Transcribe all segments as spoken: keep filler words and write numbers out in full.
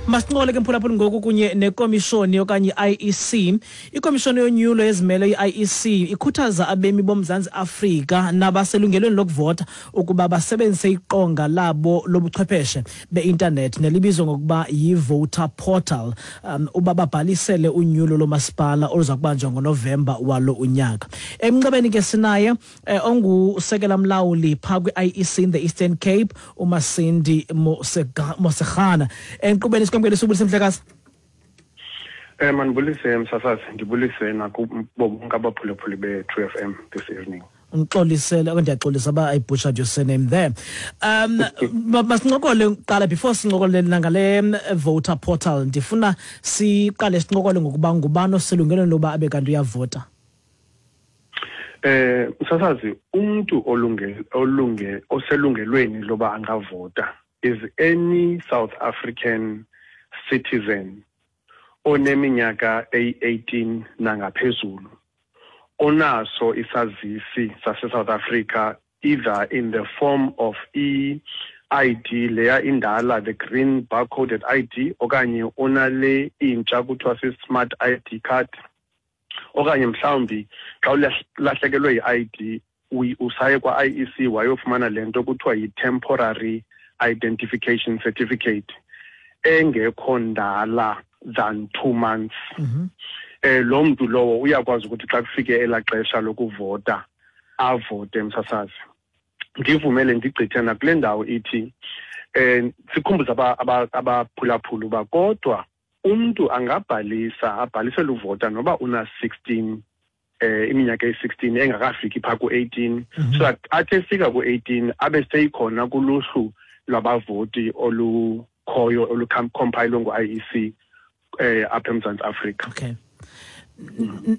Masincokole ke, mphulaphuli, ngoku kunye nekomishoni okanye i-I E C. Ikomishoni yonyulo ezimele, i-I E C, ikhuthaza abemi boMzantsi Afrika nabaselungelweni lokuvota ukuba basebenzise iqonga labo lobuchwepheshe be-intanethi nelibizwa ngokuba yi-voter portal um uba babhalisele unyulo lomasipala oluza kubanjwa ngoNovemba walo unyaka. Emnxebeni ke sinaye eh, ongusekela mlawuli phaa kwi-I E C in the Eastern Cape, uMasindi Mosegana. Enkqubeni sikwamkele, subulise, mhlekazi. Eh mandibulise, msasazi, ndibulise nakubo bonke abaphulaphuli be-True F M this evening. Ngixolisele okanye ndiyaxolisa uba I butchered your surname there. Um masincokole kuqala, before sincokole nangale voter portal, ndifuna siqale sincokole ngokuba ngubani oselungelweni loba abe kanti uyavota. Eh msasazi, umuntu olunge olunge oselungelweni loba angavota is any South African citizen oneminyaka eyi-eighteen nangaphezulu, onaso isazisi sase-South Africa, either in the form of i-I D leya indala, the green barcoded I D, okanye onale intsha kuthiwa si-smart I D card, okanye mhlawumbi xa ulahlekelwe yi-I D usaye kwa-I E C wayofumana le nto kuthiwa yi-temporary identification certificate engekho ndala than two months. mm -hmm. eh lo mntu lowo uyakwazi ukuthi xa kufike elaa xesha lokuvota avote. Msasazi, ndivumele ndigqithe nakule ndawo ithi eh sikhumbuze abaphulaphula uba kodwa umntu angabhalisa abhalisele uvota noba una-sixteen, eh iminyaka eyi-sixteen engakafiki phaa ku-eighteen, mm -hmm. so that athi efika ku-eighteen abe seyikhona kuluhlu lwabavoti olukhoyo olucompilwe ngu-I E C eh apha eMzantsi Afrika. Okay.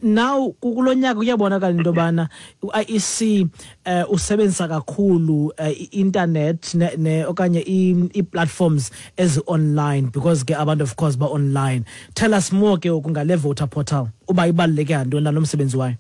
Now kulo nyaka kuyabonakala into yobana u-I E C eh usebenzisa kakhulu i-internet ne okanye i-platforms ezi-online, because ke abantu, of course, ba-online. Tell us more ke ngale voter portal, uba ibaluleke ngantoni nalo msebenzi wayo.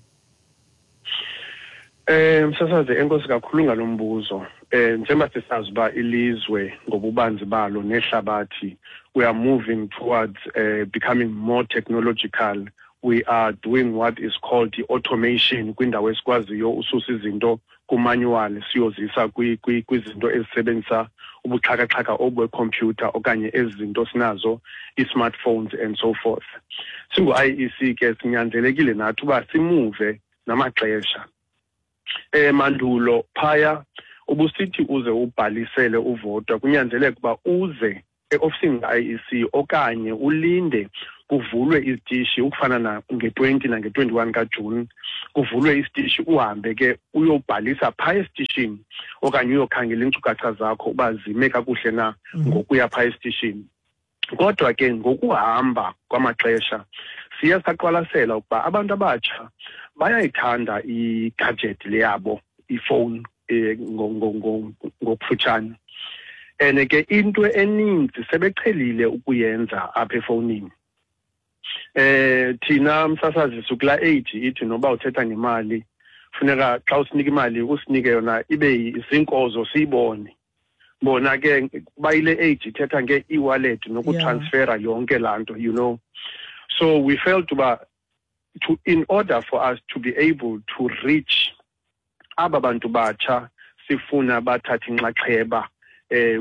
Eh msasazi, enkosi kakhulu ngalombuzo. Eh njengoba sisazi uba ilizwe ngobubanzi balo nehlabathi, we are moving towards uh, becoming more technological. We are doing what is called the automation kwindawo esikwaziyo ususa izinto kumanual siyozisa kwizinto ezisebenzisa ubuxhakaxhaka obwekhompyutha okanye ezi zinto sinazo, i-smartphones and so forth. Singu-I E C ke sinyanzelekile nathi uba simuve namaxesha. Eh mandulo phaya ubusithi uze ubhalisele uvota kunyanzeleka uba uze eofisini ka-I E C okanye ulinde kuvulwe izitishi, ukufana na nge-twenty nange-twenty-one kaJuni kuvulwe isitishi, uhambe ke uyobhalisa phaa esitishini okanye uyokhangela iinkcukacha zakho uba zime kakuhle na ngokuya phaa esitishini. Kodwa ke ngokuhamba kwamaxesha siye saqwalasela ukuba abantu abatsha bayayithanda i-gadget le yabo, ifowuni eh ngokufutshane, and ke into eninzi sebeqhelile ukuyenza apha efowunini. eh thina msasazi sukula age ithi noba uthetha ngemali, funeka xa usinika imali usinike yona ibe zinkozo siyibone. Bona ke bayile age ithetha nge-e-wallet nokutransfera yonke laa nto you know So we felt uba to in order for us to be able to reach aba bantu batsha sifuna bathathe inxaxheba eh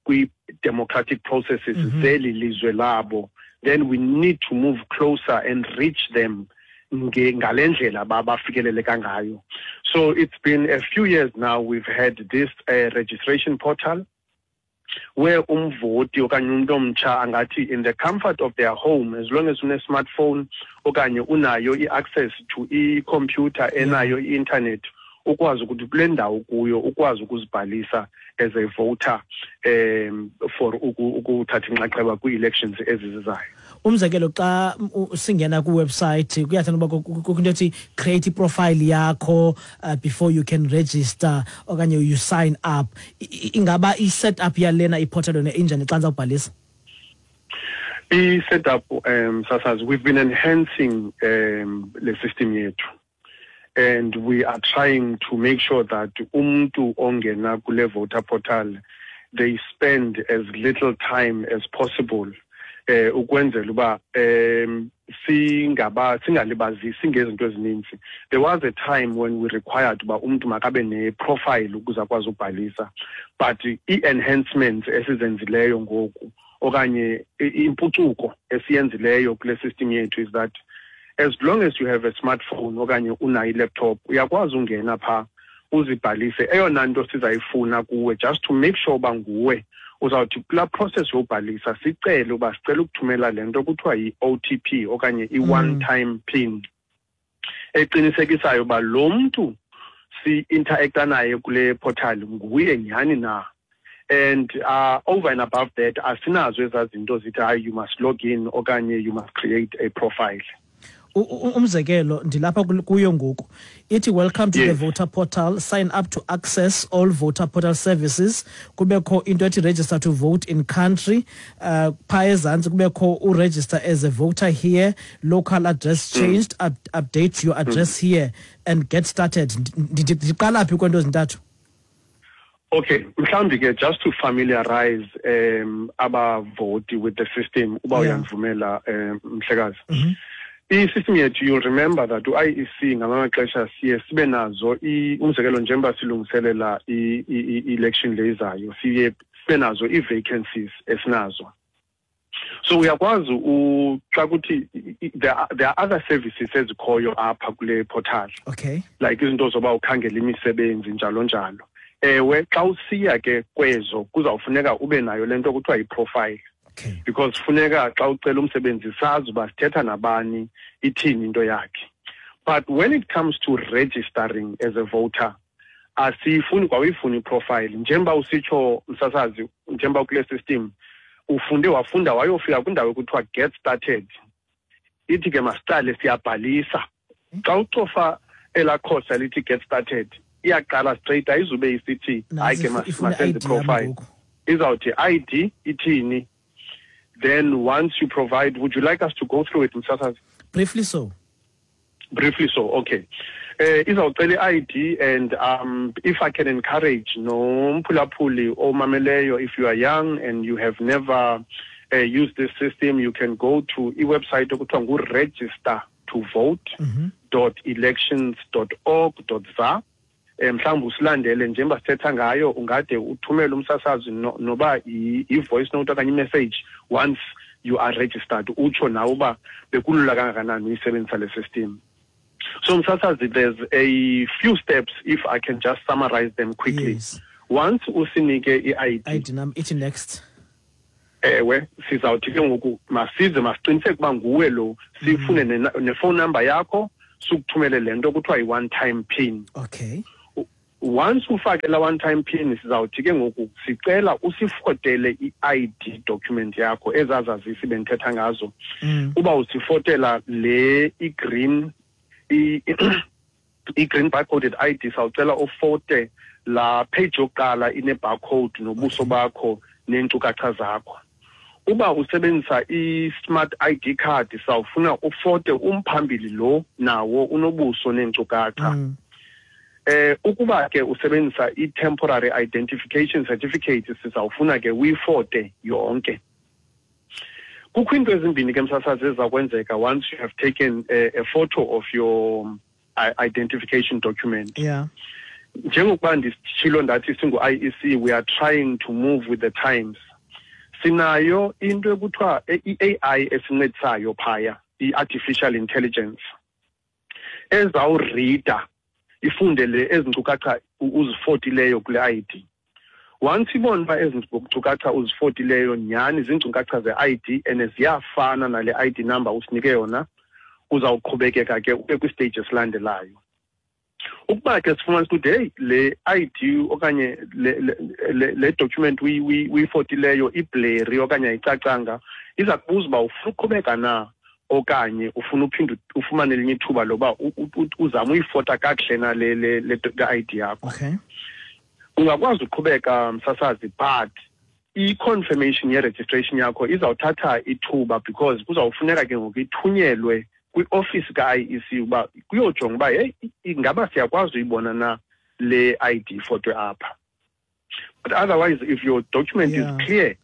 kwi-democratic processes mm -hmm. zeli lizwe labo, then we need to move closer and reach them ngale ndlela bafikeleleka ngayo. So it's been a few years now we've had this uh, registration portal where umvoti okanye umuntu omtsha angathi in the comfort of their home, as long as une-smartphone okanye unayo i-access to i-computer enayo i-internet, ukwazi ukuthi kule ndawo kuyo ukwazi ukuzibhalisa as a voter um for ukuthatha inxaxheba kwii-elections ezizizayo. Umzekelo, xa singena kwiwebsite kuyathanda uba kukho into ethi create iprofile yakho uh, before you can register okanye you sign up. Ingaba i-set up yalena iportal yona injani xa ndizawubhalisa? I-setup, um sasazi, we've been enhancing um le system yethu and we are trying to make sure that umntu ongena kule voter portal, they spend as little time as possible. eh ukwenzela uba um singaba singalibazisi ngezinto ezininzi. There was a time when we required uba umntu makabe ne-profile ukuze akwazi ubhalisa, but i-enhancements esizenzileyo ngoku okanye impucuko esiyenzileyo kule system yethu is that as long as you have a smartphone okanye unayo i-laptop, uyakwazi ungena phaa uzibhalise. Eyona nto sizayifuna kuwe, just to make sure uba nguwe, uzawuthi kulaa process yobhalisa sicele uba sicela ukuthumela le nto kuthiwa yi-O T P okanye i-one time pin eqinisekisayo uba lo mntu si-interacta naye kule portal nguye nyhani na. And uh, over and above that, asinazo ezaa zinto zithi hayi you must log in okanye you must create a profile. Umzekelo ndilapha kuyo ngoku ithi welcome to yes. the voter portal, sign up to access all voter portal services, kubekho into ethi register to vote in country, uh, phaa ezantsi kubekho uregister as a voter here, local address changed, mm. up, update your address mm. here and get started. Ndiqala phi kwento ezintathu? Okay, mhlawumbi ke just to familiarize um abavoti with the system, uba uyandivumela um mhlekazi. Mm-hmm. I-system yethu, you'll remember that u-I E C ngamanye amaxesha siye sibe nazo, umzekelo njengoba silungiselela i-election le izayo, siye sibe nazo ii-vacancies esinazo. So uyakwazi xa kuthi there are, there are other services ezikhoyo apha kule portal. Okay. Like izinto zoba ukhangela imisebenzi njalo njalo. Ewe, xa usiya ke kwezo kuzawufuneka ube nayo le nto kuthiwa yi-profile. Okay. Because funeka xa ucela umsebenzi sazi uba sithetha nabani, ithini into yakhe. But when it comes to registering as a voter, asiyifuni kwawuyifuni iprofile. Njengoba usitsho msasazi, njengoba kule system ufunde wafunda wayofika kwindawo ekuthiwa get started, ithi ke masiqale siyabhalisa. Xa ucofa elaa khosa lithi get started, iyaqala straight, ayizube isithi hayi ke masenze profile. Izawuthi I D ithini. Then once you provide, would you like us to go through it, Msasazi? Briefly so. Briefly so, okay. Uh, izawucela i-I D, and um, if I can encourage nomphulaphuli omameleyo, if you are young and you have never uh, used this system, you can go to i-website okuthiwa ngu-register to vote dot elections dot org dot za. Mhlawumbi usilandele njengoba sithetha ngayo, ungade uthumele umsasazi noba i-voice note okanye i-message once you are registered, utsho nawe uba bekulula kangakanani uyisebenzisa le system. So msasazi, there's a few steps, if I can just summarize them quickly. Yes. Once usinike i-I D, I D number, ithi next. Ewe, sizawuthi ke ngoku masize masiqiniseke uba nguwe lo, sifune ne-phone number yakho, sikuthumele le nto kuthiwa yi-one time pin. Okay. Once ufake la one time pin, sizawuthi ke ngoku sicela usifotele i-I D document yakho ezazazisi bendithetha ngazo. Mm. Uba usifotela le i-green i-green barcoded I D, sawucela ufote la page yokuqala ine-barcode nobuso bakho neenkcukacha zakho. Uba usebenzisa i-smart I D card, sawufuna ufote umphambili lo nawo unobuso neenkcukacha. Mm. Eh ukuba ke usebenzisa i-temporary identification certificate, sizawufuna ke uyifote yonke. Kukho into ezimbini ke msasazi ezizakwenzeka once you have taken a, a photo of your identification document. Yeah. Njengokuba ndisitshilo ndathi singu-I E C, we are trying to move with the times. Sinayo into ekuthiwa i-A I esincedisayo phaya, i-artificial intelligence, ezawurida ifunde le ezinkcukacha uzifotileyo kule I D. Once ibona uba ezi nkcukacha uzifotileyo nyhani ziinkcukacha ze-I D and ziyafana nale I D number usinike yona, uzawuqhubekeka ke ube kwistage esilandelayo. Ukuba ke sifumanisa ukuthi hey le I D okanye le le, le document uyifotileyo iblurry okanye ayicacanga, iza kubuza uba ufuna uqhubeka na okanye ufuna uphinde ufumane elinye ithuba loba uzame uyifota kakuhle na le le le I D yakho. Okay. Ungakwazi uqhubeka msasazi, but i-confirmation ye-registration yakho izawuthatha ithuba because kuzawufuneka ke ngoku ithunyelwe kwi-office ka-I E C uba kuyojonga uba hey ingaba siyakwazi uyibona na le I D fotwe apha. But otherwise, if your document yeah. is clear,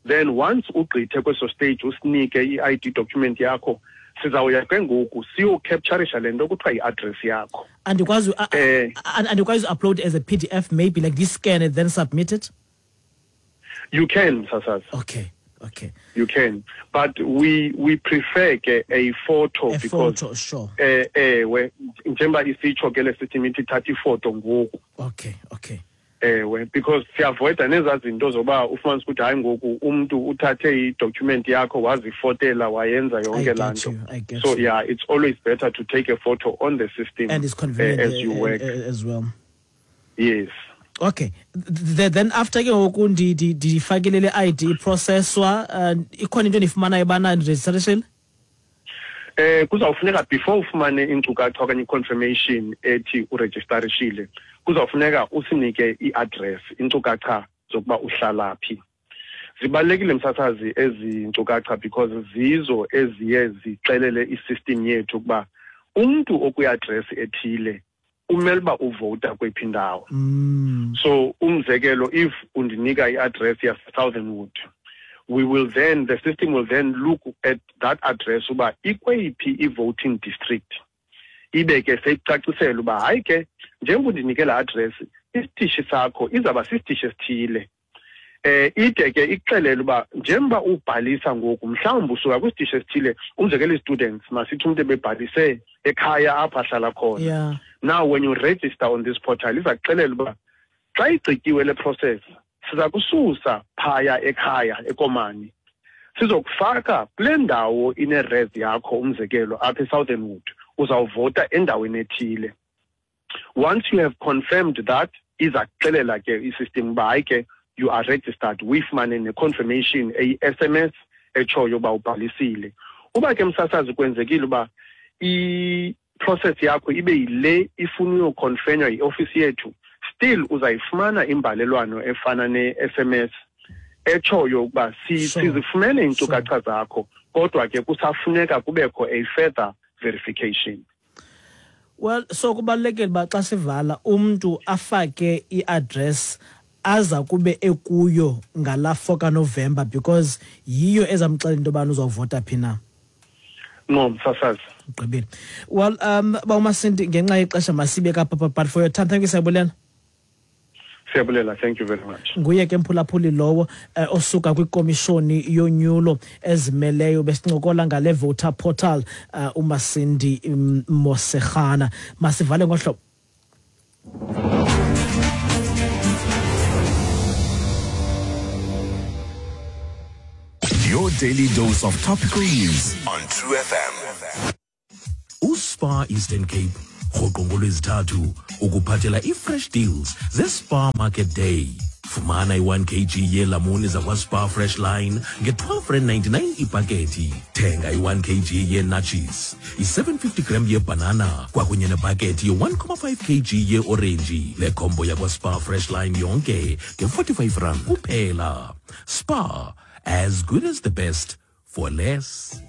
Then once ugqithe kweso stage usinike i-I D document yakho, sizawuya ke ngoku siyocapturisha le nto kuthiwa yi-address yakho. Andikwazi andikwazi upload as a P D F, maybe like this, scan it then submit it? You can, Sasazi. Okay. Okay. You can, but we we prefer ke a photo a because photo, sure. Eh eh we njengoba isitsho ke le system ithi thatha ifoto ngoku. Okay, okay. Ewe, because siavoida nezaa zinto zoba ufumanise ukuthi hayi ngoku umntu uthathe i-document yakho wazifotela wayenza yonke laa nto. So yeah, it's always better to take a photo on the system and it's convenient uh, as you work uh, as well. Yes. Okay. Then after ke ngoku ndifakile le I D iprocesswa, ikhona into endiyifumanayo bana registration? Eh kuzawufuneka before ufumane iinkcukacha okanye i-confirmation ethi uregisterishile, kuzawufuneka usinike i-address, iinkcukacha zokuba uhlala phi. Zibalulekile msasazi ezi nkcukacha because zizo eziye zixelele i-system yethu ukuba umntu okwi-address ethile umele uba uvota kweyiphi indawo. Mm. So umzekelo, if undinika i-address yase-Southernwood, we will then, the system will then look at that address uba ikweyiphi i-voting district. Ibe ke seyicacisela uba hayi ke njengoba undinike laa address, isitishi sakho izawuba sisitishi esithile. Eh ide ke ikuxelele uba njengoba ubhalisa ngoku mhlawumbi usuka kwisitishi esithile, umzekelo i-students, masithi umntu ebebhalise ekhaya apho ahlala khona. Yeah. Now when you register on this portal, iza kuxelela uba xa igqityiwe le process, siza kususa phaya ekhaya eKomani, sizokufaka kule ndawo ine-res yakho, umzekelo apha eSouthernwood, uzawuvota endaweni ethile. Once you have confirmed that, iza kuxelela ke i-system uba hayi ke you are registered, uyifumane ne-confirmation eyi-S M S etshoyo uba ubhalisile. Uba ke msasazi kwenzekile uba i-process yakho ibe yile ifuna uyoconfirmwa yi-ofisi yethu, still uzayifumana imbalelwano efana ne-S M S etshoyo ukuba sizifumene iinkcukacha zakho, kodwa ke kusafuneka kubekho a further verification. Well, so kubalulekile uba xa sivala umntu afake i-address aza kube ekuyo ngala four kaNovember because yiyo ezamxelela into yobana uzawuvota phi na. No, msasazi. Ugqibile. Well, um bawuMasindi, ngenxa yexesha masibe kapha, but for your time, thank you, siyabulela. Siyabulela, thank you very much. Nguye ke mphulaphuli lowo eh, osuka kwikomishoni yonyulo ezimeleyo, besincokola ngale voter portal, uh, uMasindi um, Mosekhana. Masivale ngohlobo. Your daily dose of topical news on True F M. USpar Eastern Cape rhoqo ngolwezithathu ukuphathela i-fresh deals ze-Spar Market Day. Fumana i-one kilogram yeelamuni zakwaSpar Fresh Line nge-twelve rand ninety-nine ipakethi. Thenga i-one kilogram yee-natches, i-seven fifty gram yebanana kwakunye nepakethi ye-one comma five kilogram ye-orenji. Le combo yakwaSpar Fresh Line yonke nge-forty-five rand kuphela. Spar, as good as the best for less.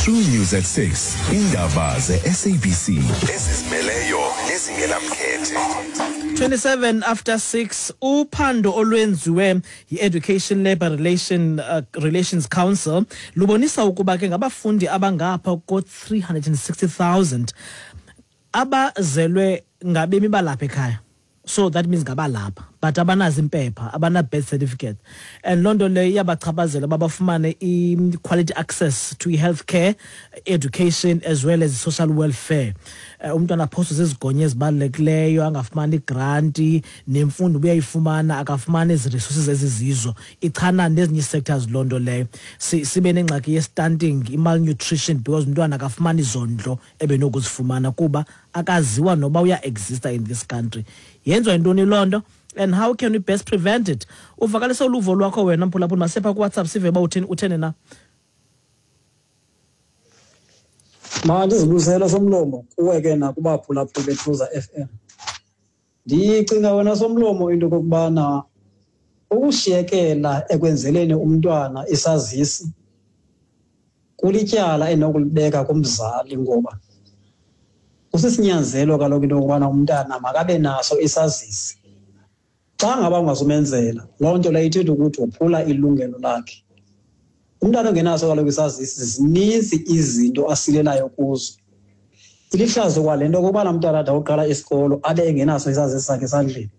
True News at six. Indaba ze-S A B C. Ezizimeleyo nezingenamkhethe. twenty-seven after six, uphando olwenziwe yi-Education Labour Relation, uh, Relations Council lubonisa ukuba ke ngabafundi abangapha ko-three hundred and sixty thousand abazelwe ngabemi balapha ekhaya. So that means ngabalapha, but abanazo impepha, abana birth certificate. And loo nto leyo iyabachaphazela uba bafumane i-quality access to i-healthcare, education as well as social welfare. Umntwana aphoswe zizigonyo ezibalulekileyo, angafumani igranti, nemfundo uyayifumana, akafumani ezi resources ezizizo. Ichana nezinye ii-sectors loo nto leyo. Sibe nengxaki ye-stunting, i-malnutrition, because umntwana akafumani izondlo ebenokuzifumana kuba akaziwa noba uya-exista in this country. Yenziwa yintoni loo nto? And how can we best prevent it? Uvakalisa uluvo lwakho wena mphulaphuli, masepha kuWhatsApp sive uba utheni, utheni na. Mandizibuzele Somlomo kuwe ke nakubaphulaphuli beTruza F M. Ndicinga wena Somlomo into kokubana ukushiyekela ekwenzeleni umntwana isazisi kulityala enokulibeka kumzali, ngoba kusisinyanzelo kaloku into yokubana umntana makabe naso isazisi. Xa ngaba ungazumenzela, loo nto leyo ithetha ukuthi wophula ilungelo lakhe. Umntana ongenaso kaloku isazisi, zininzi izinto asilelayo kuzo. Ilihlazo kwale nto okokubana umntana ade ayoqala isikolo abe engenaso isazisi sakhe esandleni.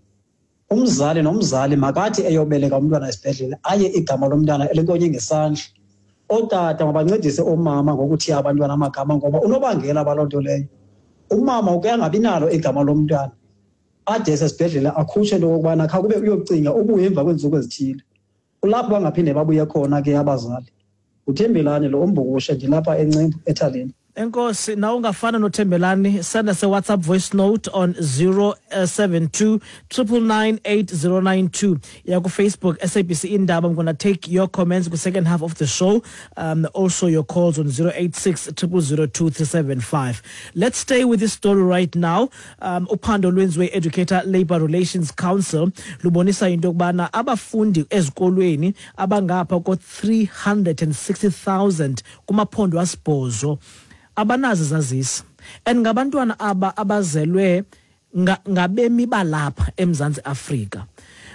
Umzali nomzali makathi eyobeleka umntwana esibhedlele aye igama lomntana elinkonye ngesandla. Ootata mabancedise oomama ngokuthiya abantwana amagama, ngoba unobangela baloo nto leyo. Umama uke angabi nalo igama lomntwana, ade esesibhedlele akhutshwe into okokubana khawube uyocinga ubuye emva kweentsuku ezithile. Kulapho bangaphinde babuye khona ke abazali. UThembelani lo uMbukushe, ndilapha eNcembu eThaleni. Enkosi, nawe ungafana noThembelani, send us a WhatsApp voice note on zero seven two triple nine eight zero nine two. Ya ku Facebook S A B C Indaba. I'm gonna take your comments ku second half of the show. Um, also your calls on zero eight six triple zero two three seven five. Let's stay with this story right now. Um, uphando lwenziwe Educator Labour Relations Council lubonisa into yokubana abafundi ezikolweni abangapha ko three hundred and sixty thousand kumaphondo asibhozo abanazo zazisi, and ngabantwana aba abazelwe ngabemi balapha eMzantsi Afrika.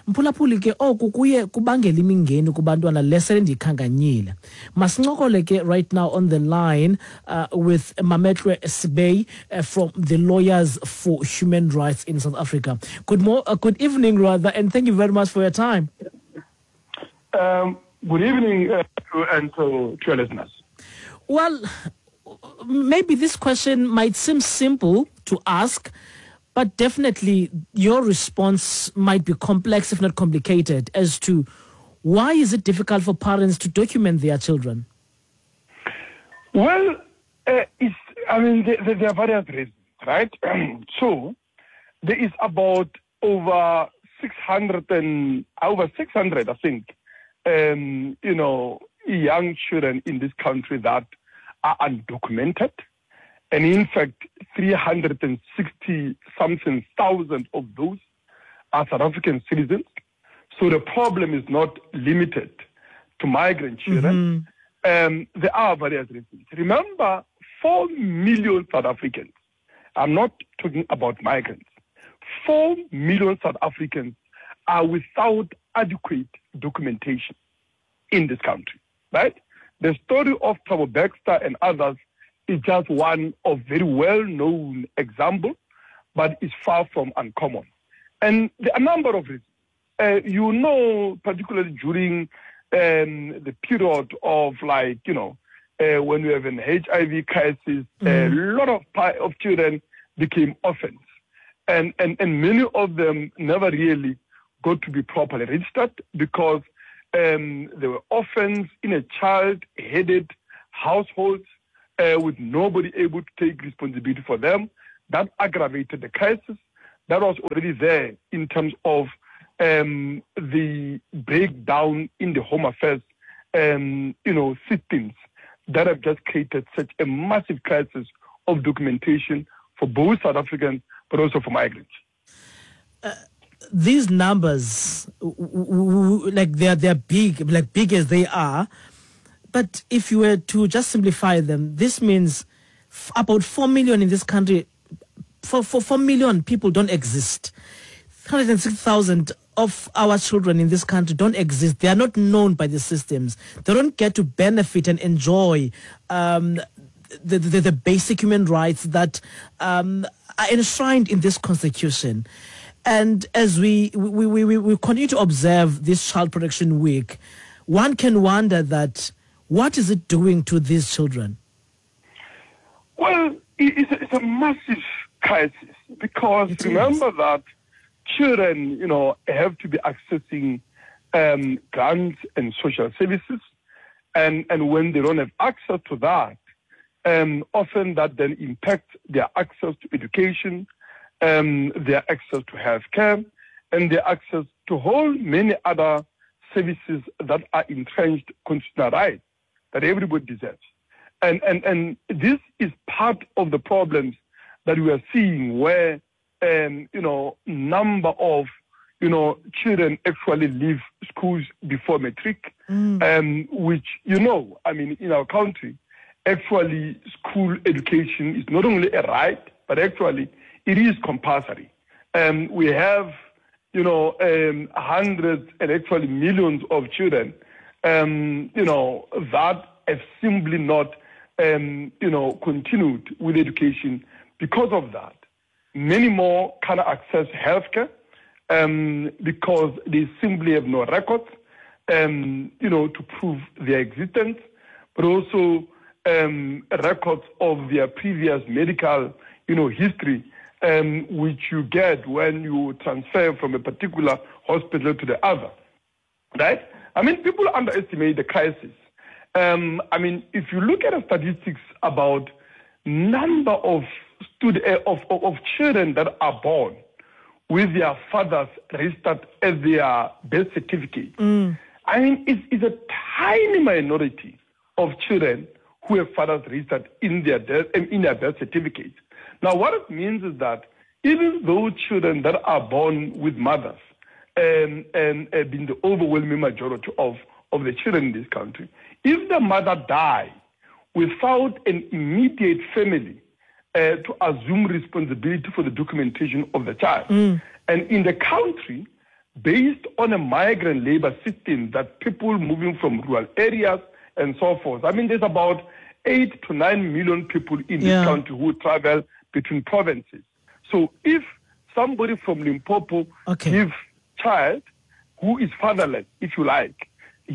Mphulaphuli ke oku kuye kubangela imingeni kubantwana lesele ndikhankanyile. Masincokole ke right now on the line uh, with Mametlwe Sebei uh, from the Lawyers for Human Rights in South Africa. Good mo- uh, good evening rather, and thank you very much for your time. Um, good evening uh, to, and to, to your listeners. Well, maybe this question might seem simple to ask, but definitely your response might be complex, if not complicated, as to why is it difficult for parents to document their children? Well, uh, it's, I mean, there, there are various reasons, right? So there is about over six hundred and over six hundred, I think, um, you know, young children in this country that are undocumented. And in fact, three hundred sixty something thousand of those are South African citizens. So the problem is not limited to migrant children. Mm-hmm. Um, there are various reasons. Remember, four million South Africans, I'm not talking about migrants, four million South Africans are without adequate documentation in this country, right? The story of Thabo Baxter and others is just one of very well-known example, but it's far from uncommon. And there are a number of reasons. Uh, you know, particularly during um, the period of, like, you know, uh, when we have an H I V crisis, mm. a lot of, of children became orphans. And, and, and many of them never really got to be properly registered because Um, they were orphans in a child-headed household uh, with nobody able to take responsibility for them. That aggravated the crisis that was already there in terms of um, the breakdown in the home affairs, um, you know, systems that have just created such a massive crisis of documentation for both South Africans, but also for migrants. Uh- These numbers, like they're they're big, like big as they are, but if you were to just simplify them, this means about four million in this country. Four, four, four million people don't exist. three hundred six thousand of our children in this country don't exist. They are not known by the systems. They don't get to benefit and enjoy um, the, the the basic human rights that um, are enshrined in this constitution. And as we, we, we, we, we continue to observe this Child Protection Week, one can wonder that what is it doing to these children? Well, it's a, it's a massive crisis because it remember is. that children, you know, have to be accessing um, grants and social services. And, and when they don't have access to that, um, often that then impacts their access to education, um, their access to healthcare, and their access to whole many other services that are entrenched constitutional rights that everybody deserves. And, and, and this is part of the problems that we are seeing where, um, you know, number of, you know, children actually leave schools before matric, mm. um, which, you know, I mean, in our country, actually school education is not only a right, but actually it is compulsory. Um, we have you know, um, hundreds and actually millions of children, um, you know, that have simply not, um, you know, continued with education because of that. Many more cannot access healthcare um, because they simply have no records, um, you know, to prove their existence, but also um, records of their previous medical, you know, history, um, which you get when you transfer from a particular hospital to the other, right? I mean, people underestimate the crisis. Um, I mean, if you look at the statistics about number of Stud- of, of, of children that are born with their fathers registered as their birth certificate, mm. I mean, it's, it's a tiny minority of children who have fathers registered in their death, in their birth certificates. Now, what it means is that even those children that are born with mothers, um, and uh, being the overwhelming majority of, of the children in this country, if the mother dies without an immediate family Uh, to assume responsibility for the documentation of the child. Mm. And in the country, based on a migrant labor system that people moving from rural areas and so forth, I mean, there's about eight to nine million people in this yeah. country who travel between provinces. So if somebody from Limpopo okay. gives child who is fatherless, if you like,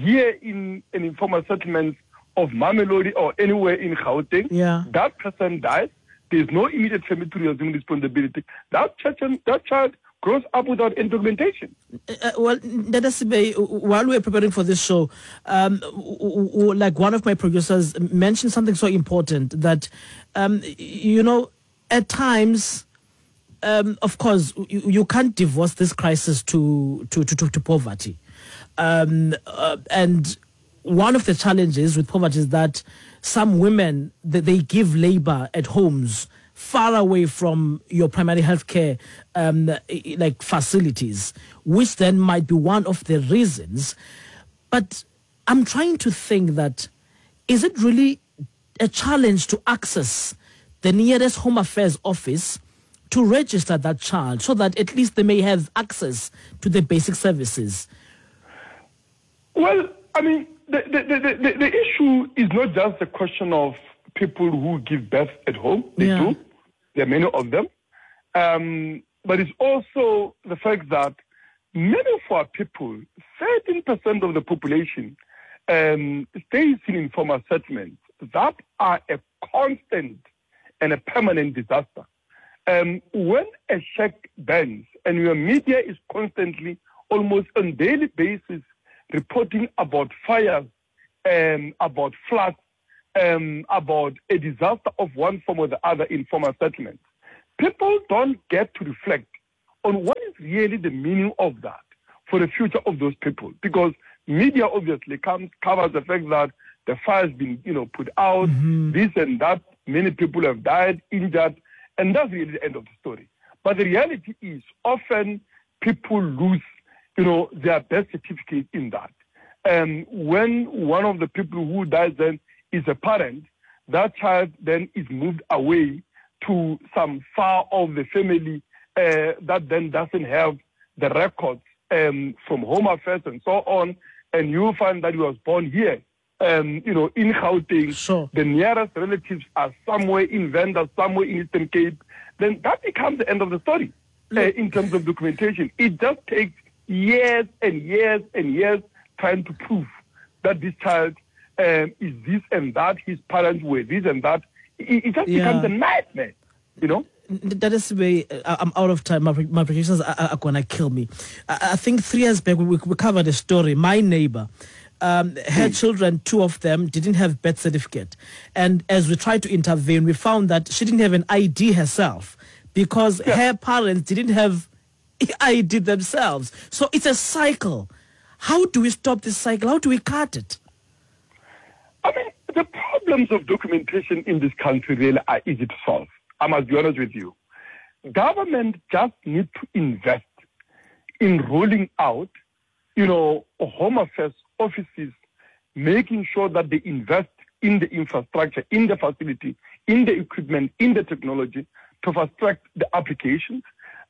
here in an informal settlement of Mamelodi or anywhere in Gauteng, yeah. that person dies. There's no immediate family to assume responsibility. That child, that child grows up without any documentation. Uh, well, Ntate Sebei, while we were preparing for this show, um, like one of my producers mentioned something so important that, um, you know, at times, um, of course, you, you can't divorce this crisis to, to, to, to, to poverty. Um, uh, and one of the challenges with poverty is that some women, they, they give labor at homes far away from your primary healthcare um, like facilities, which then might be one of the reasons. But I'm trying to think that, is it really a challenge to access the nearest Home Affairs office to register that child so that at least they may have access to the basic services? Well, I mean, The, the, the, the, the issue is not just a question of people who give birth at home. They yeah. do. There are many of them. Um, but it's also the fact that many of our people, thirteen percent of the population, um, stays in informal settlements that are a constant and a permanent disaster. Um, when a shack burns and your media is constantly, almost on daily basis, reporting about fires, um, about floods, um, about a disaster of one form or the other in formal settlements, people don't get to reflect on what is really the meaning of that for the future of those people. Because media obviously comes, covers the fact that the fire's been, you know, put out, mm-hmm. this and that, many people have died, injured, and that's really the end of the story. But the reality is often people lose, you know, their birth certificate in that. Um, when one of the people who dies then is a parent, that child then is moved away to some far off the family uh, that then doesn't have the records um, from Home Affairs and so on. And you find that he was born here, um, you know, in Gauteng. Sure. The nearest relatives are somewhere in Venda, somewhere in Eastern Cape. Then that becomes the end of the story uh, in terms of documentation. It just takes years and years and years trying to prove that this child um, is this and that, his parents were this and that. It, it just yeah. becomes a nightmare, you know? That is the way. I'm out of time. My, my producers are, are going to kill me. I, I think three years back, we, we covered a story. My neighbor, um, her mm. children, two of them, didn't have birth certificate. And as we tried to intervene, we found that she didn't have an I D herself because yeah. her parents didn't have I D themselves. So it's a cycle. How do we stop this cycle? How do we cut it? I mean, the problems of documentation in this country really are easy to solve. I must be honest with you. Government just need to invest in rolling out, you know, Home Affairs offices, making sure that they invest in the infrastructure, in the facility, in the equipment, in the technology to fast track the applications.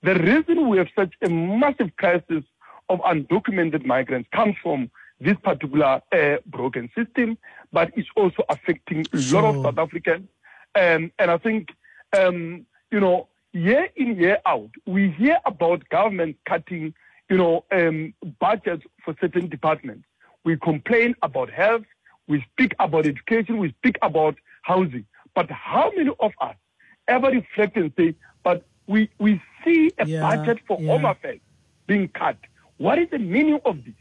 The reason we have such a massive crisis of undocumented migrants comes from this particular uh, broken system, but it's also affecting a Sure. lot of South Africans. Um, and I think, um, you know, year in, year out, we hear about government cutting, you know, um, budgets for certain departments. We complain about health, we speak about education, we speak about housing. But how many of us ever reflect and say, but we, we see a Yeah, budget for yeah. Home Affairs being cut. What is the meaning of this?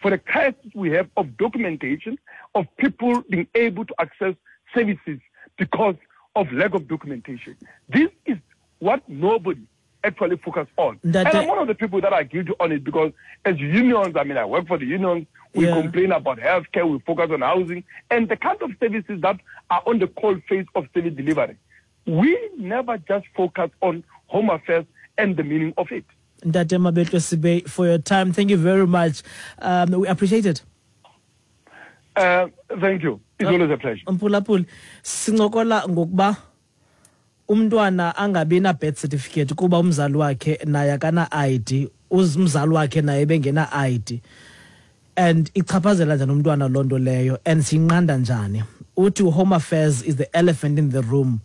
For the crisis we have of documentation, of people being able to access services because of lack of documentation. This is what nobody actually focus on. That and the- I'm one of the people that are guilty on it because as unions, I mean, I work for the unions, we Yeah. complain about healthcare, we focus on housing, and the kind of services that are on the cold face of service delivery. We never just focus on Home Affairs and the meaning of it. Ntate Mabetlwe Sebei, for your time. Thank you very much. Um, we appreciate it. Uh, thank you. It's always a pleasure. Mphulaphuli, sincokola ngokuba umntwana angabi na birth certificate kuba umzali wakhe naye akana I D, umzali wakhe naye bengena I D. And ichaphazela njani umntwana loo nto leyo, and siyinqanda njani? Uthi Home Affairs is the elephant in the room,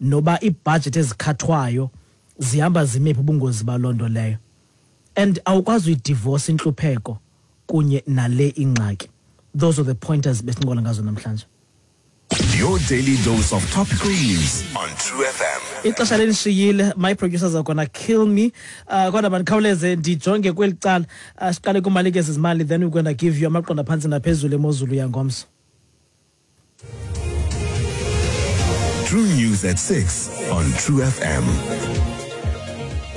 noba iibhajethi ezikhathwayo zihamba zimephi ubungozi baloo nto leyo. And awukwazi uyidivorce intlupheko kunye nale ingxaki. Those are the pointers besincokola ngazo namhlanje. Your daily dose of topical news on True F M. Ixesha lelishiyile, my producers are gonna kill me. Uh, kodwa mandikhawuleze ndijonge kweli cala. Uh, siqale kumalike zezimali, then we're gonna give you amaqonda phantsi naphezulu emozulu yangomso. True News at six on True F M.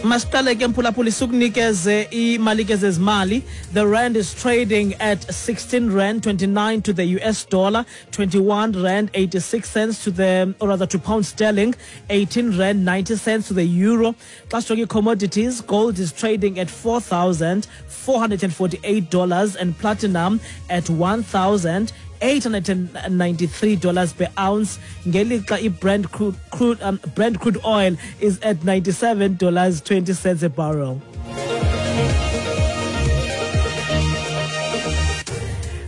Masiqale ke mphulaphuli sikunikeze imalike zezimali. The rand is trading at sixteen rand twenty-nine to the U S dollar, twenty-one rand eighty-six cents to the, or rather to pound sterling, eighteen rand ninety cents to the euro. Xa sijonge commodities, gold is trading at four thousand four hundred forty-eight dollars and platinum at one thousand eight hundred ninety-three dollars per ounce. Ngelixa i-Brent crude, crude, um, Brent crude oil is at ninety-seven dollars twenty cents a barrel.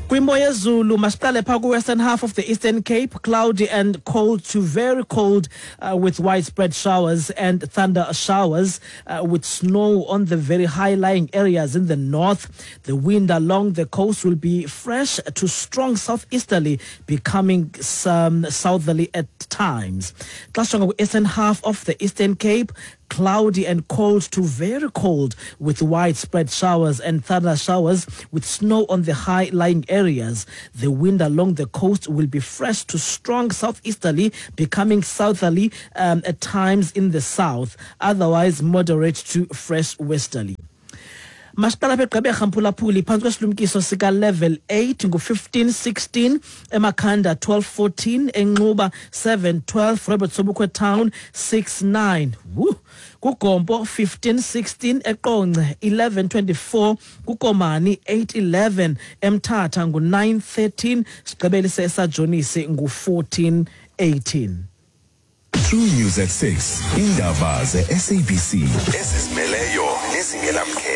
Kwimo yezulu, masiqale phaa ku-western half of the Eastern Cape, cloudy and cold to very cold, uh, with widespread showers and thunder showers, uh, with snow on the very high-lying areas in the north. The wind along the coast will be fresh to strong southeasterly, becoming some southerly at times. Xa sijonga ku-eastern half of the Eastern Cape, cloudy and cold to very cold with widespread showers and thunder showers with snow on the high-lying areas. The wind along the coast will be fresh to strong southeasterly, becoming southerly, um, at times in the south, otherwise moderate to fresh westerly. Masiqala apha eGqeberha mphulaphuli phantsi kwesilumkiso sika level eight ngu-fifteen sixteen, eMakhanda twelve fourteen, eNxuba seven twelve, Robert Sobukwe Town six nine. Woo! KuGompo fifteen sixteen, eQonce eleven twenty-four, kuKomani eight eleven, eMthatha ngu-nine thirteen, sigqibelise eSajonisi ngu-fourteen eighteen. True News at six. Indaba ze-S A B C ezizimeleyo nezingenamkhethe.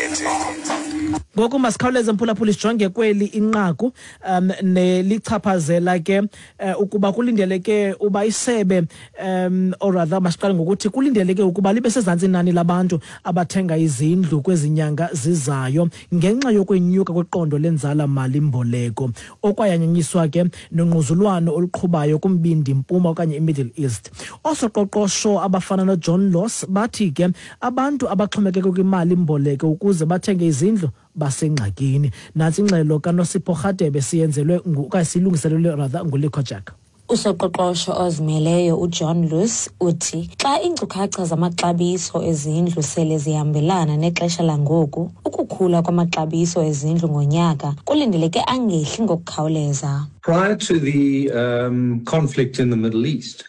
Ngoku masikhawuleze mphulaphuli sijonge kweli inqaku um nelichaphazela ke uh, ukuba kulindeleke uba isebe um or rather masiqale ngokuthi kulindeleke ukuba libe sezantsi inani labantu abathenga izindlu kwezinyanga zizayo ngenxa yokwenyuka kweqondo lenzala mali mboleko okwayanyanyiswa ke nongquzulwano oluqhubayo kumbindi mpuma okanye iMiddle East. Osoqoqosho abafana noJohn Loss bathi ke abantu abaxhomekeke kwimali mboleko ukuze bathenge izindlu basengxakini. Nantsi ingxelo kaNosipho Rhadebe siyenzelwe okanye silungiselelwe rather nguLikho Jack. Usoqoqosho ozimeleyo uJohn Loos uthi xa iinkcukacha zamaxabiso ezindlu sele zihambelana nexesha langoku, ukukhula kwamaxabiso ezindlu ngonyaka kulindeleke angehli ngokukhawuleza. Prior to the um, conflict in the Middle East,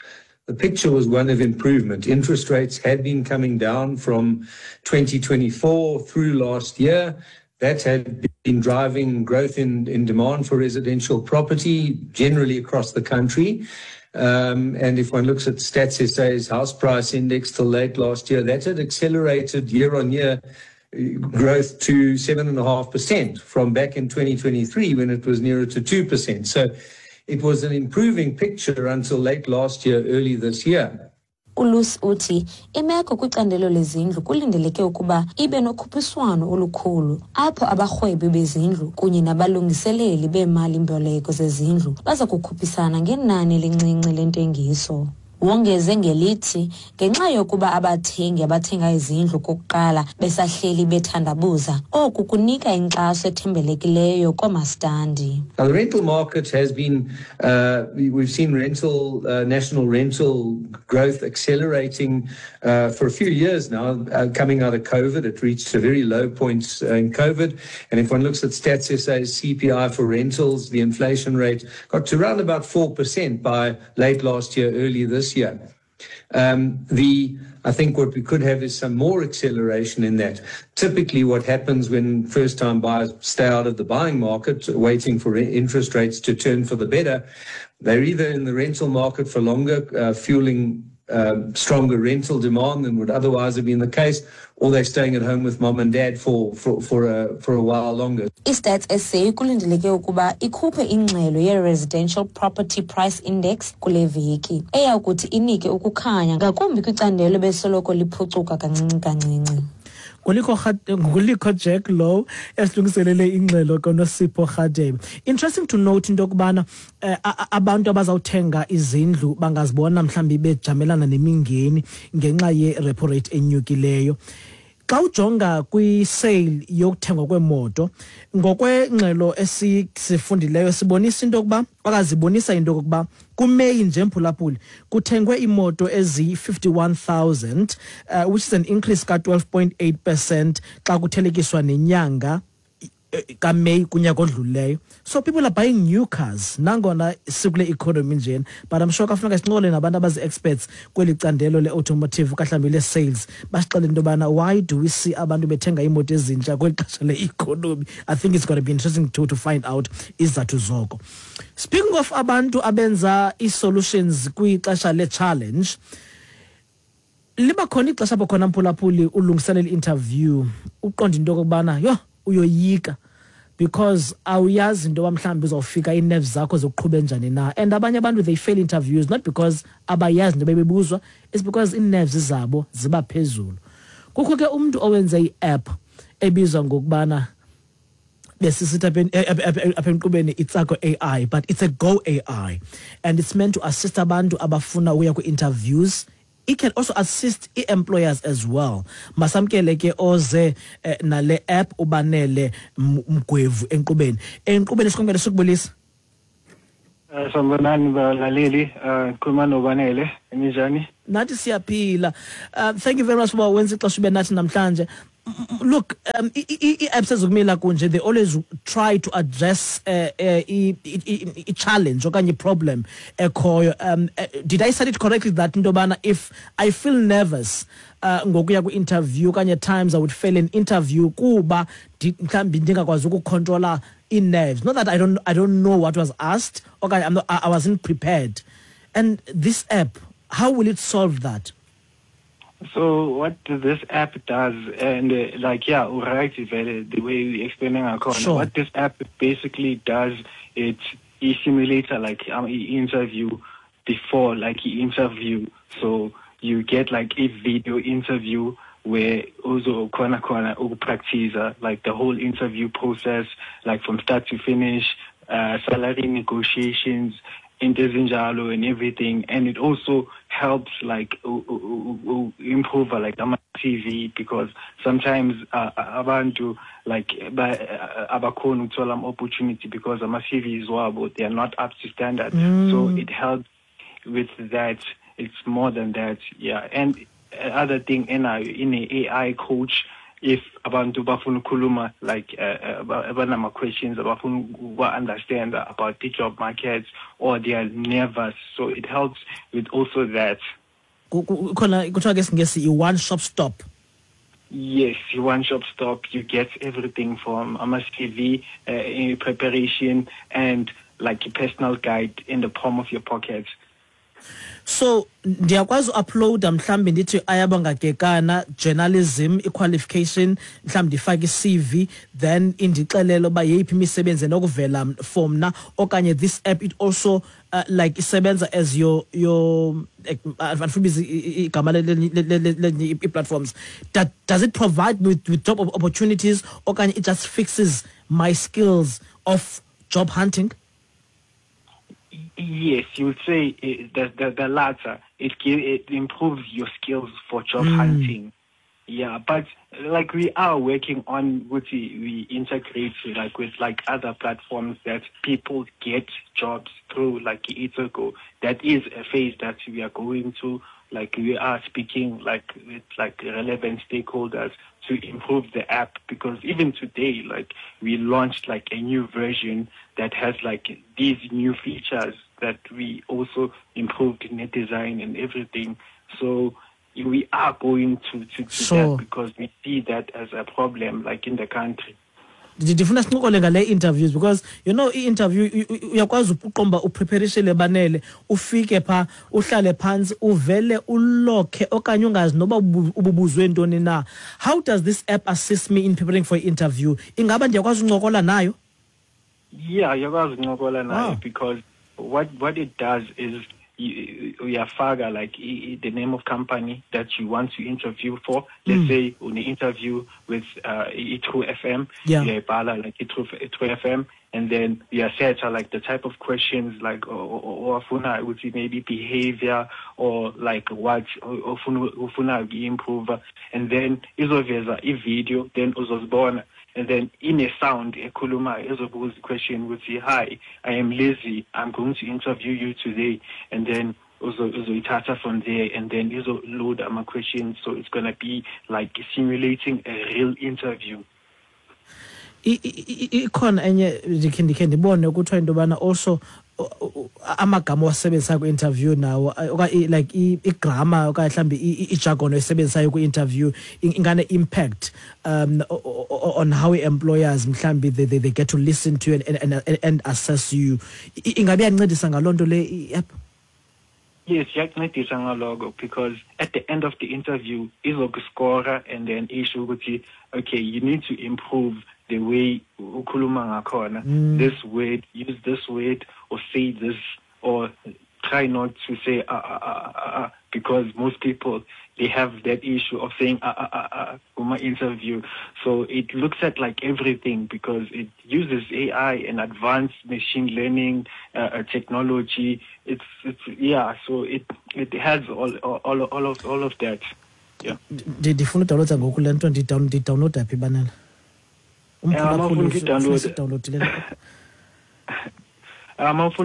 the picture was one of improvement. Interest rates had been coming down from twenty twenty-four through last year. That had been driving growth in, in demand for residential property generally across the country. Um, and if one looks at Stats S A's house price index till late last year, that had accelerated year on year growth to seven point five percent from back in twenty twenty-three when it was nearer to two percent. So it was an improving picture until late last year, early this year. ULusi uthi imeko kwicandelo lezindlu kulindeleke ukuba ibe nokhuphiswano olukhulu apho abarhwebi bezindlu kunye nabalungiseleli beemali-mboleko zezindlu baza kukhuphisana ngenani elincinci lentengiso. Wongeze ngelithi ngenxa yokuba abathengi abathenga izindlu kokuqala besahleli bethandabuza, oku kunika inkxaso ethembelekileyo koomastandi. Now, the rental market has been, uh, we've seen rental, uh, national rental growth accelerating uh, for a few years now. Uh, coming out of COVID, it reached a very low point in COVID. And if one looks at Stats S A's C P I for rentals, the inflation rate got to around about four percent by late last year, early this year. Um, the I think what we could have is some more acceleration in that. Typically what happens when first-time buyers stay out of the buying market, waiting for interest rates to turn for the better, they're either in the rental market for longer, uh, fueling um, stronger rental demand than would otherwise have been the case, or they're staying at home with mom and dad for, for, for, a, for a while longer. I-Stats S A kulindeleke ukuba ikhuphe ingxelo ye-Residential Property Price Index kule veki, eya kuthi inike ukukhanya ngakumbi kwicandelo besoloko liphucuka kancinci kancinci. Ngulikho Jack Low esilungiselele ingxelo koNosipho Rhadebe. Interesting to note into yokubana eh, abantu abazawuthenga izindlu bangazibona mhlawumbi bejamelana nemingeni ngenxa ye-repo rate enyukileyo. Xa ujonga kwi-sale yokuthengwa kweemoto, ngokwengxelo esifundileyo sibonisa into yokuba okazibonisa into yokuba kuMeyi nje mphulaphuli kuthengwe iimoto eziyi-fifty-one thousand, uh, which is an increase ka twelve point eight percent xa kuthelekiswa nenyanga kaMeyi kunyaka odlulileyo. So people are buying new cars nangona sikule economy njena, but I'm sure kafuneka sincokole nabantu abazi-experts kweli candelo le-automotive kahlawumbi le-sales basixelele into yobana why do we see abantu bethenga iimoto ezintsha kweli xesha le-economy. I think it's going to be interesting to, to find out izizathu zoko. Speaking of abantu abenza ii-solutions kwixesha le-challenge, liba khona ixesha apho khona mphulaphuli ulungiselela i-interview uqonde into yokokubana yho uyoyika because awuyazi into yoba mhlawumbi uzawufika ii-nerves zakho zokuqhuba njani na. And abanye abantu they fail interviews not because abayazi into bebebuzwa, it's because ii-nerves zabo ziba phezulu. Kukho ke umntu owenze i-app ebizwa ngokubana besisithi apha enkqubeni Itsako A I, but it's a Go A I and it's meant to assist abantu abafuna ukuya kwi-interviews. It can also assist employers as well. Masamkele ke oze eh, nale app uBanele Mgwevu enkqubeni. Enkqubeni sikonke sikubulisa. Sanibonani balaleli, khuluma noBanele, ninjani? Nathi siyaphila. Uh, thank you very much for wenza ixesha ube nathi namhlanje. Look, um, i-apps ezikumila kunje, they always try to address uh, uh, i challenge okanye problem ekhoyo. Um, uh, did I say it correctly that into yobana if I feel nervous uh, ngokuya kwi-interview okanye times I would fail an interview kuba mhlawumbi ndingakwazi ukukhontrola ii-nerves. Not that I don't, I don't know what was asked okanye I'm not, I wasn't prepared. And this app, how will it solve that? So what this app does, and uh, like, yeah, right, the way we explaining our corner, Sure. What this app basically does, it simulates like um, interview before, like interview. So you get like a video interview where also corner corner practice like the whole interview process, like from start to finish, uh, salary negotiations, and everything, and it also helps like improve like ama C V, because sometimes uh, abantu like abakhona ukuthola opportunity because ama C Vs wabo they are not up to standard. Mm. So it helps with that. It's more than that, yeah. And other thing in a in a A I coach, if abantu bafuna ukukhuluma like abanama questions abafuna understand about the job markets or they are nervous, so it helps with also that. Khona kuthiwa ke isiNgesi i-one shop stop. Yes, one shop stop. You get everything from ama C V uh, preparation and like a personal guide in the palm of your pocket. So ndiyakwazi uuploada mhlambi ndithi Ayabonga Kekana journalism i-qualification, mhlambi ndifake i-C V, then indixelele uba yeyiphi imisebenzi enokuvela for mna, okanye this app it also uh, like isebenza as your your andifuna igama i-platforms. That does it provide me with, with job opportunities, okanye it just fixes my skills of job hunting? Yes, you would say it, the, the the latter. It it improves your skills for job mm. hunting. Yeah, but like we are working on what we integrate like with like other platforms that people get jobs through, like Itsego. That is a phase that we are going to. Like we are speaking like with like relevant stakeholders to improve the app, because even today, like we launched like a new version that has like these new features that we also improved in the design and everything. So we are going to, to, to sure. that, because we see that as a problem like in the country. Ndifuna sincokole ngale interviews, because you know i-interview uyakwazi ukuqomba upreparishele banele, ufike pha uhlale phansi uvele ulokhe okanye ungazi noba ububuzwe ntoni na. How does this app assist me in preparing for interview? Ingaba ndiyakwazi uncokola nayo? Yeah, uyakwazi uncokola nayo, oh. Because what what it does is uyafaka like the name of company that you want to interview for. Let's mm. say on the interview with uh, iTru F M, yeah, uyayibhala like iTru F M, and then uyaseta like the type of questions like or ofuna ukuthi maybe behavior or like what ofuna ofuna improve, and then izoveza i-video, then uzozibona, and then in a sound ekhuluma ezobuza question ukuthi hi, I am Lizzie, I'm going to interview you today, and then uzoyithatha from there, and then izoload ama questions, so it's going to be like simulating a real interview. Ikhona enye ndikhe ndikhe ndibone kuthiwa into yobana also amagama owasebenzisayo kwi-interview nawo, okanye like i-grammar okanye mhlawumbi i-jargon oyisebenzisayo kwi-interview ingane-impact um on how employers mhlawumbi they, they, they get to listen to you and, and, and assess you. Ingabe iyancedisa ngaloo nto le i-app? Yes, iyakuncedisa ngaloko, because at the end of the interview izokuskora and then isho ukuthi okay, you need to improve the way ukhuluma ngakhona, mm. this word, use this word, or say this, or try not to say ah, ah, ah, ah, because most people, they have that issue of saying ah, ah, ah, ah, in my interview. So it looks at like everything, because it uses A I and advanced machine learning uh, technology. It's, it's yeah, so it it has all all all of all of that. Yeah. Ndifuna udownloada ngoku le nto, ndidownloada phi banana? Umfuna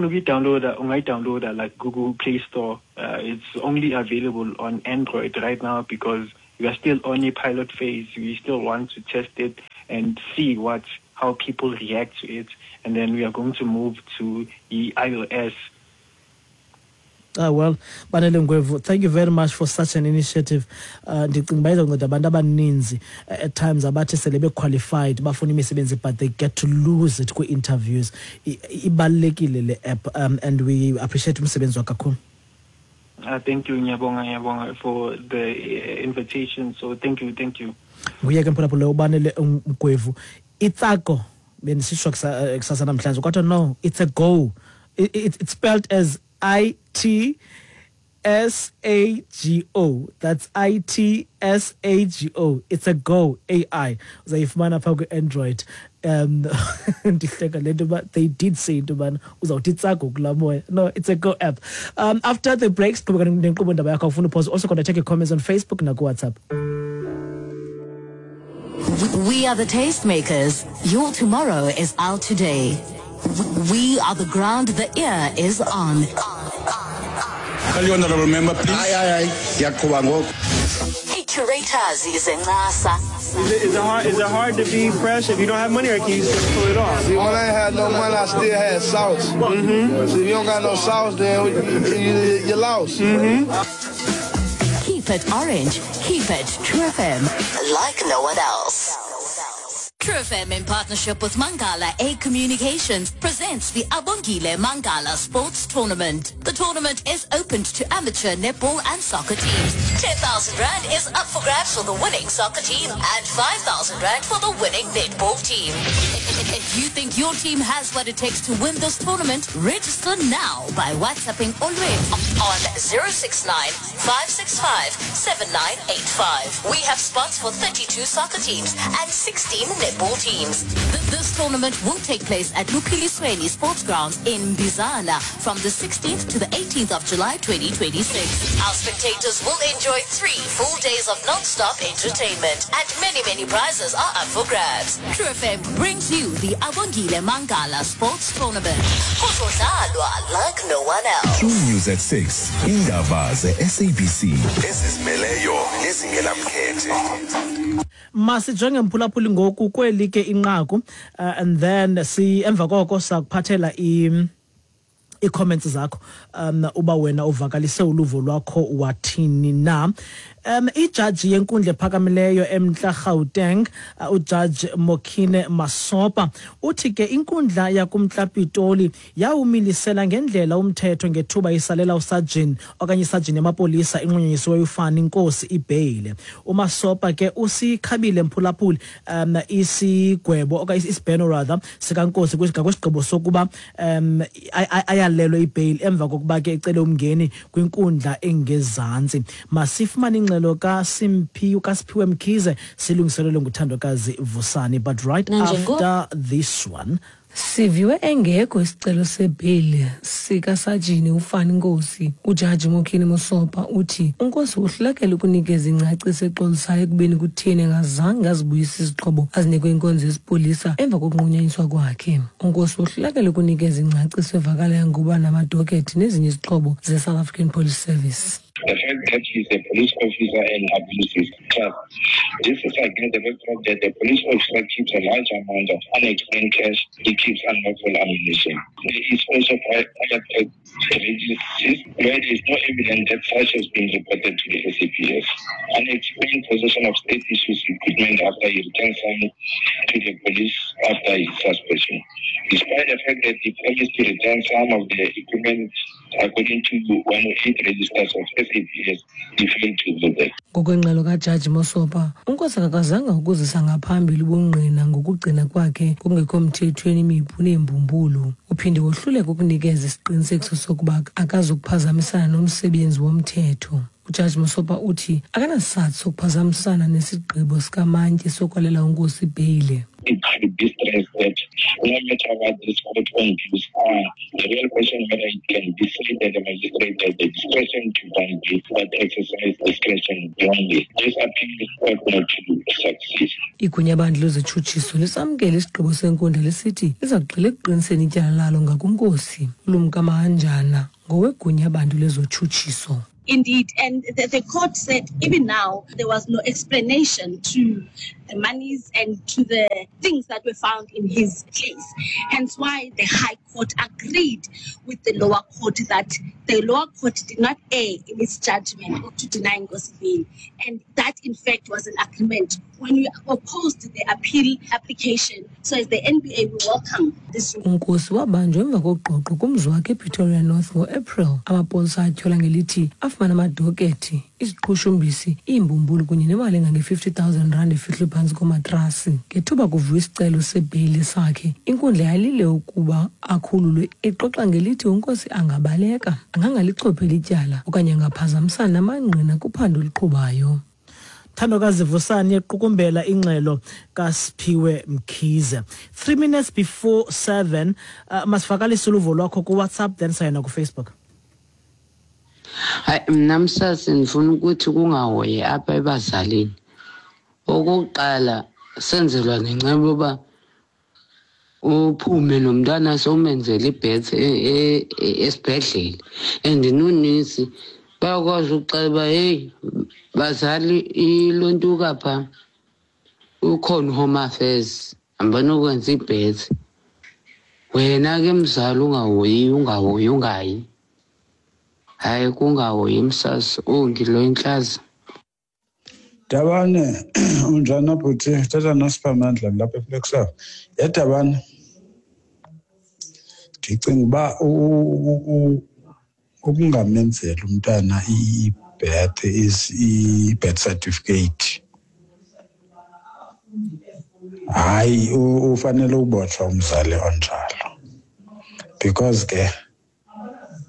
ukuyidownloada, ungayidownloada like Google Play Store. Uh, it's only available on Android right now because we are still on a pilot phase. We still want to test it and see what how people react to it, and then we are going to move to the iOS. Ah, well, Banele Ngwevu, thank you very much for such an initiative. Ndicinga uba izonceda abantu abaninzi at times abathi sele be-qualified bafuna imisebenzi but they get to lose it kwi-interviews. Ibalulekile le app, um, and we appreciate umsebenzi wakho kakhulu. Uh, thank you, ngiyabonga, ngiyabonga for the invitation. So thank you, thank you. Nguye ke mphulaphula uBanele Ngwevu. Itsako bendisitsho kusasa namhlanje kodwa no, it's a go. It, it, it's spelled as I T S A G O. That's I T S A G O. It's a go A I. Uzayifumana pha kwi-Android. Um, ndihleka le nto uba they did say into yobana uzawuthi itsago kulaa moya. No, it's a go app. Um, after the breaks, qhubeka nenkqubo indaba yakho ufuna uphosa. Also gonna check your comments on Facebook nakuWhatsApp. We are the tastemakers. Your tomorrow is our today. We are the ground the ear is on. Call you honorable member, please. Aye, aye, aye. Curators is in NASA. Is it, is it hard? Is it hard to be fresh if you don't have money, or can you still pull it off? See, when I ain't had no money, I still had sauce. Mm-hmm. See, if you don't got no sauce, then you, you, you lost. Mm-hmm. Keep it orange. Keep it True F M. Like no one else. True F M in partnership with Mangala A Communications presents the Abongile Mangala Sports Tournament. The tournament is open to amateur netball and soccer teams. ten thousand rand is up for grabs for the winning soccer team and five thousand rand for the winning netball team. If you think your team has what it takes to win this tournament, register now by WhatsApping Olwethu on zero six nine, five six five, seven nine eight five. We have spots for thirty-two soccer teams and sixteen netball teams. This tournament will take place at Luphilisweni Sports Grounds in Bizana from the sixteenth to the eighteenth of July twenty twenty-six. Our spectators will enjoy three full days of non-stop entertainment and many, many prizes are up for grabs. True F M brings you the Abongile Mangala Sports Tournament. Kuzodlalwa like no one else. True News at six. Indaba ze-S A B C. Ezizimeleyo nezingenamkhethe. Masijonge mphulaphuli ngoku kweli ke inqaku, uh, and then si emva koko sakuphathela i i-comments zakho um uba wena uvakalise uluvo lwakho wathini na. Um ijaji yenkundla ephakamileyo eMntla Gauteng, uh, uJudge Mokhine Masopa uthi ke inkundla yakuMntla Pitoli yawumilisela ngendlela umthetho ngethuba isalela usajini okanye isajini yamapolisa inqunyanyisiweyo uFani Nkosi ibheyile. UMasopa ke usikhabile mphulaphuli um isigwebo okanye isibheno rather sikaNkosi kwisigqibo sokuba um ayalelwe ibheyile emva kokuba ke ecele umngeni kwinkundla engezantsi. Masifumane ingxelo kaSimphiwe kaSiphiwe Mkhize silungiselelwe nguThandokazi Vusani, but right after this one. Siviwe engekho isicelo sebheyile sikasajini uFani Nkosi. Ujaji Mokhine Mosopa uthi uNkosi uhlulekele ukunikeza ingcaciso exolisayo ekubeni kutheni engazange azibuyise izixhobo azinikwe inkonzo yesipolisa emva kokunqunyanyiswa kwakhe. UNkosi uhlulekele ukunikeza ingcaciso evakalayo ngokuba namadokethi nezinye izixhobo ze-South African Police Service. The fact that he is a police officer and abuses trust. This is against the backdrop that the police officer keeps a large amount of unexplained cash, he keeps unlawful ammunition. There is also prior registries where there is no evidence that such has been reported to the S A P S. Unexplained possession of state issues equipment after he returns some to the police after his suspension. Despite the fact that he promised to return some of the equipment according to one oh eight registers of S A P S, he failed to do that. Ngokwengxelo kaJaji Mosopa, uNkosi akakazanga ukuzisa ngaphambili ubungqina ngokugcina kwakhe kungekho mthethweni imipu neembumbulu. Uphinde wohluleka ukunikeza isiqinisekiso sokuba akazukuphazamisana nomsebenzi womthetho. UJaji Mosopa uthi akanasizathu sokuphazamisana nesigqibo sikamantyi sokwalela uNkosi ibheyile. It should be stressed that no matter what this court own views are, the real question whether it can be said that the magistrate has the discretion to grant bail, but exercise discretion wrongly. This appeal ought not to succeed. Igunyabandla lezitshutshiso lisamkele isigqibo senkundla lisithi liza kugxila ekuqiniseni ityala lalo ngakuNkosi. ULumka Mahanjana ngowegunyabantu lezotshutshiso. Indeed, and the, the court said even now there was no explanation to the monies and to the things that were found in his case. Hence why the High Court agreed with the lower court that the lower court did not err in its judgment to deny Nkosi bail. And that, in fact, was an agreement. When we opposed the appeal application, so as the N B A, we welcome this. UNkosi wabanjwa emva koqoqo kumzi wakhe ePretoria North ngo-April. Amapolisa atyhola ngelithi afumana amadokethi, iziqhushumbisi, iimbumbulu kunye nemali engange-fifty thousand rand efihlwe phantsi komatrasi. Ngethuba kuvuya isicelo sebheyile sakhe, inkundla yalile ukuba akhululwe, ixoxa ngelithi uNkosi angabaleka, angangalichopheli ityala okanye angaphazamisana namangqina kuphando oluqhubayo. Thandokazi Vusani equkumbela ingxelo kaSiphiwe Mkhize. Three minutes before seven, uh, masivakalise uluvo lwakho ku-WhatsApp then sayena ku-Facebook. Hayi, mna msasi ndifuna ukuthi kungahoyi apha ebazalini. Okokuqala senzelwa nenceba uba uphume nomntana sowumenzele ibhetse esibhedlele. And nonesi bayakwazi ukuxela uba heyi bazali ilontuka phaa ukhona uHome Affairs hambani ukwenza ibhetse. Wena ke mzali ungahoyi ungahoyi ungayi. Hayi kungahoyi msasi ongilo intlaza. Dabane, unjani bhuti? Thetha noSiphamandla lapha eFlagstaff. Yedabane, ndicinga uba ukungamenzeli umntana i-birth is i-birth certificate, hayi, ufanele ubotshwa umzali onjalo, because ke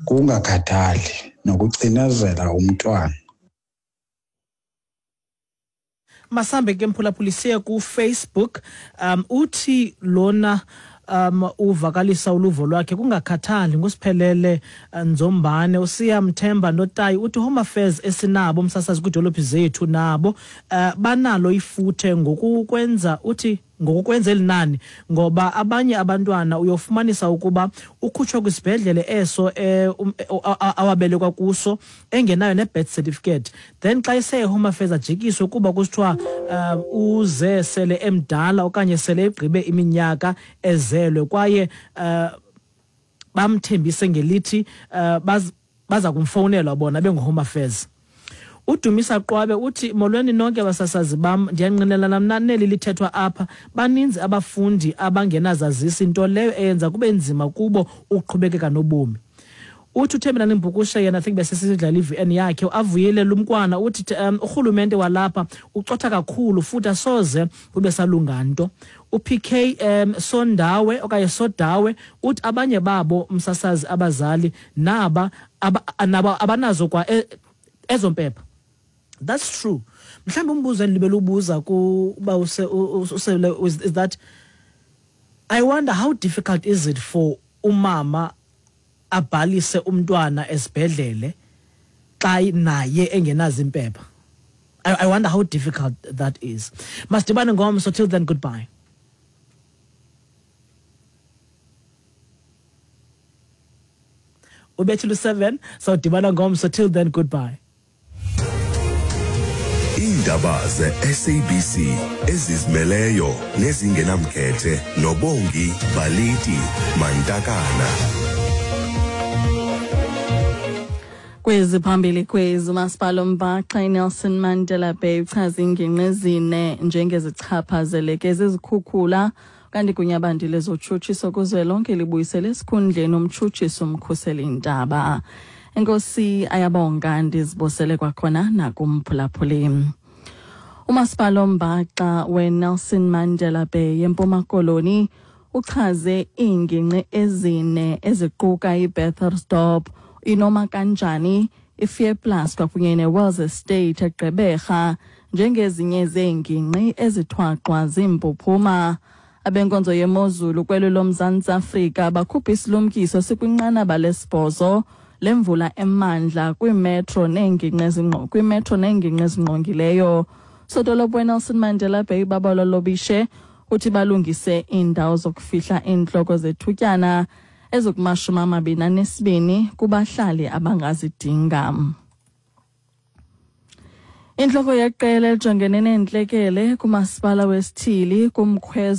kungakhathali nokucinezela umntwana. Masambe ke mphulaphuli siye ku-Facebook. um uthi lona um uvakalisa uluvo lwakhe kungakhathali ngusiphelele Nzombane. Usiyamthemba Notayi uthi Home Affairs esinabo umsasazi kwiidolophi zethu nabo uh, banalo ifuthe ngokukwenza, uthi ngokukwenza elinani, ngoba abanye abantwana uyofumanisa ukuba ukhutshwa kwisibhedlele eso eh, um, awabelekwa kuso engenayo ne-birth certificate, then xa ise Home Affairs ajikiswe kuba kusithiwa uh, uze sele emdala okanye sele egqibe iminyaka ezelwe, kwaye uh, bamthembise ngelithi uh, baz, baza kumfowunelwa bona bengu-Home Affairs. Udumisa Qwabe uthi molweni nonke basasazi bam, ndiyanqinelana mna neli lithethwa apha. Baninzi abafundi abangenazazisi, into leyo eyenza kube nzima kubo ukuqhubekeka nobomi. Uthi uThembelani Mbukushe yena, I think besisidlala i-V N yakhe, avuyile lumkwana uthi um, urhulumente walapha ucotha kakhulu futhi asoze kube salunga nto. U-P K um, Sondawe okanye Sodawe uthi abanye babo msasazi abazali naba aba, naba abanazo kwa e, ezo mpepha. That's true. Mhlawumbe umbuzo endilibele ubuza kuba use use is that I wonder how difficult is it for umama abhalise umntwana esibhedlele xa naye engenazo impepha. I, I wonder how difficult that is. Masidibane ngomso, till then, goodbye. Ubethile seven, so dibana ngomso, till then, goodbye. Iindaba ze-S A B C ezizimeleyo nezingenamkhethe noBongi Baliti Mantakana. Kwezi phambili kwezi, umasipala ombhaxa iNelson Mandela Bay uchaza iingingqi ezine njengezichaphazeleke zizikhukhula, kanti gunyabandi lezotshutshiso kuzwelonke libuyisele esikhundleni umtshutshisi umkhuseli ntaba. Enkosi Ayabonga, ndizibosele kwakhona nakumphulaphuli. Umasipala ombhaxa weNelson Mandela Bay eMpuma Koloni uchaze iingingqi ezine eziquka iBethelsdorp, iNoma Kanjani, iFearplus kwakunye neWells Estate eGqeberha njengezinye zeengingqi ezithwaxwa ziimpuphuma. Abenkonzo yemozulu kwelo loMzantsi Afrika bakhupha isilumkiso sikwinqanaba lesibhozo lemvula emandla kwimetro neengingqi ezingqo kwimetro neengingqi ezingqongileyo. Sodolophu weNelson Mandela Bay Babalwa Lobishe uthi balungise iindawo zokufihla iintloko zethutyana ezikumashumi amabini anesibini kubahlali abangazidinga. Intloko yeqela elijongene neentlekele kumasipala wesithili kumkhwezo